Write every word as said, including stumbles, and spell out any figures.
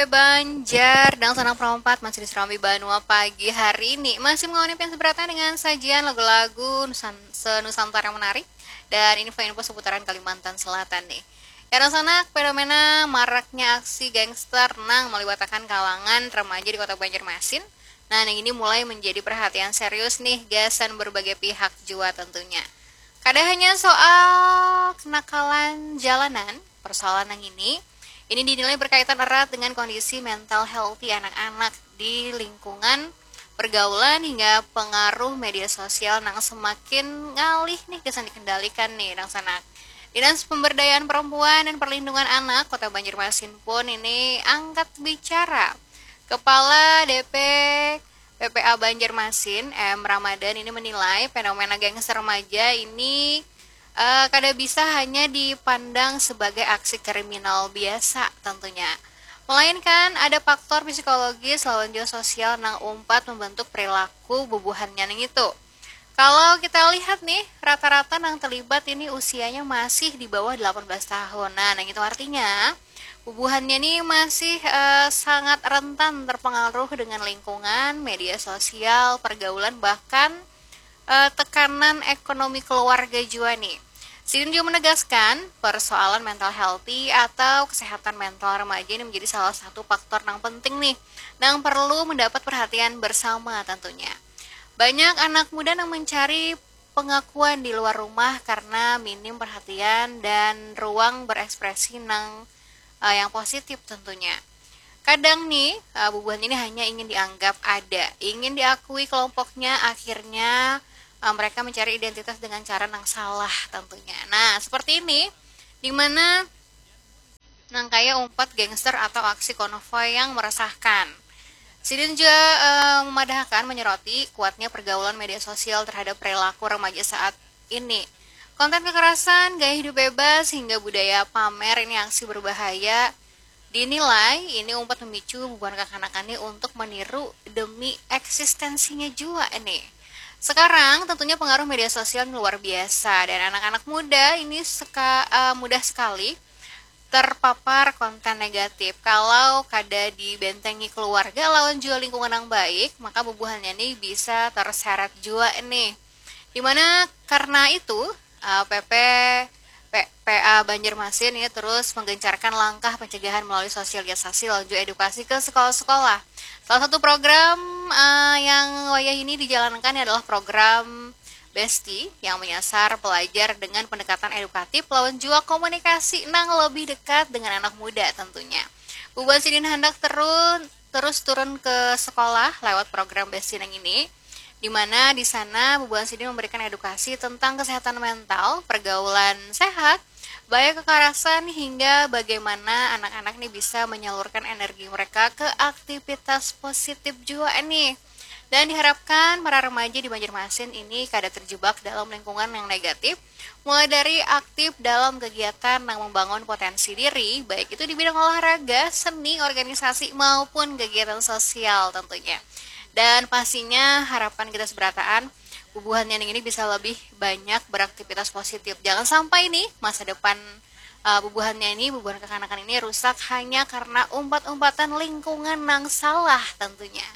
Banjar, dangsanak perompat masih di Serambi Banua pagi hari ini. Masih mengawani pian seberatan dengan sajian lagu-lagu Nusan-, se-Nusantara yang menarik dan info-info seputaran Kalimantan Selatan nih. Ya, dangsanak, fenomena maraknya aksi gangster nang melibatkan kalangan remaja di kota Banjarmasin. Nah, yang ini mulai menjadi perhatian serius nih gasan berbagai pihak jua tentunya. Kada hanya soal kenakalan jalanan, persoalan yang ini, ini dinilai berkaitan erat dengan kondisi mental healthy anak-anak di lingkungan pergaulan hingga pengaruh media sosial nang semakin ngalih nih gasan dikendalikan nih dangsanak. Dinas Pemberdayaan Perempuan dan Perlindungan Anak Kota Banjarmasin pun ini angkat bicara. Kepala D P P P A Banjarmasin, M Ramadan ini menilai fenomena gangster remaja ini eh, kada bisa hanya dipandang sebagai aksi kriminal biasa tentunya. Melainkan ada faktor psikologis lawan juga sosial nang umpat membentuk perilaku bubuhannya nang itu. Kalau kita lihat nih, rata-rata nang terlibat ini usianya masih di bawah delapan belas tahun. Nah, nang itu artinya bubuhannya nih masih eh, sangat rentan terpengaruh dengan lingkungan, media sosial, pergaulan, bahkan eh, tekanan ekonomi keluarga jua nih. Sidin juga menegaskan, persoalan mental healthy atau kesehatan mental remaja ini menjadi salah satu faktor nang penting nih, nang perlu mendapat perhatian bersama tentunya. Banyak anak muda yang mencari pengakuan di luar rumah karena minim perhatian dan ruang berekspresi nang eh, yang positif tentunya. Kadang nih, eh, bubuhan ini hanya ingin dianggap ada, ingin diakui kelompoknya, akhirnya eh, mereka mencari identitas dengan cara yang salah tentunya. Nah, seperti ini, di mana nang kaya umpat gangster atau aksi konvoy yang meresahkan. Sidin juga eh, memadahkan menyoroti kuatnya pergaulan media sosial terhadap perilaku remaja saat ini. Konten kekerasan, gaya hidup bebas, hingga budaya pamer ini aksi berbahaya dinilai ini umpat memicu bubuhan kakanakan nih untuk meniru demi eksistensinya jua nih. Sekarang tentunya pengaruh media sosial ini luar biasa dan anak-anak muda ini seka, eh, mudah sekali terpapar konten negatif. Kalau kada dibentengi keluarga lawan jua lingkungan yang baik, maka bubuhannya nih bisa terseret jua nih. Dimana karena itu, eh, P P, P-, P A Banjarmasin ini terus menggencarkan langkah pencegahan melalui sosialisasi lawan juga edukasi ke sekolah-sekolah. Salah satu program eh, yang wayah ini dijalankan adalah program Besti yang menyasar pelajar dengan pendekatan edukatif lawan juga komunikasi nang lebih dekat dengan anak muda tentunya. Bubuhan sidin handak terun, terus turun ke sekolah lewat program Besti nang ini, di mana di sana bubuhan sidin memberikan edukasi tentang kesehatan mental, pergaulan sehat, bahaya kekerasan, hingga bagaimana anak-anak nih bisa menyalurkan energi mereka ke aktivitas positif jua nih. Dan diharapkan para remaja di Banjarmasin ini kada terjebak dalam lingkungan yang negatif, mulai dari aktif dalam kegiatan yang membangun potensi diri, baik itu di bidang olahraga, seni, organisasi, maupun kegiatan sosial tentunya. Dan pastinya harapan kita seberataan, bubuhan yang ini bisa lebih banyak beraktivitas positif. Jangan sampai nih masa depan eh, bubuhannya ini, bubuhan kekanakan ini rusak hanya karena umpat-umpatan lingkungan yang salah tentunya.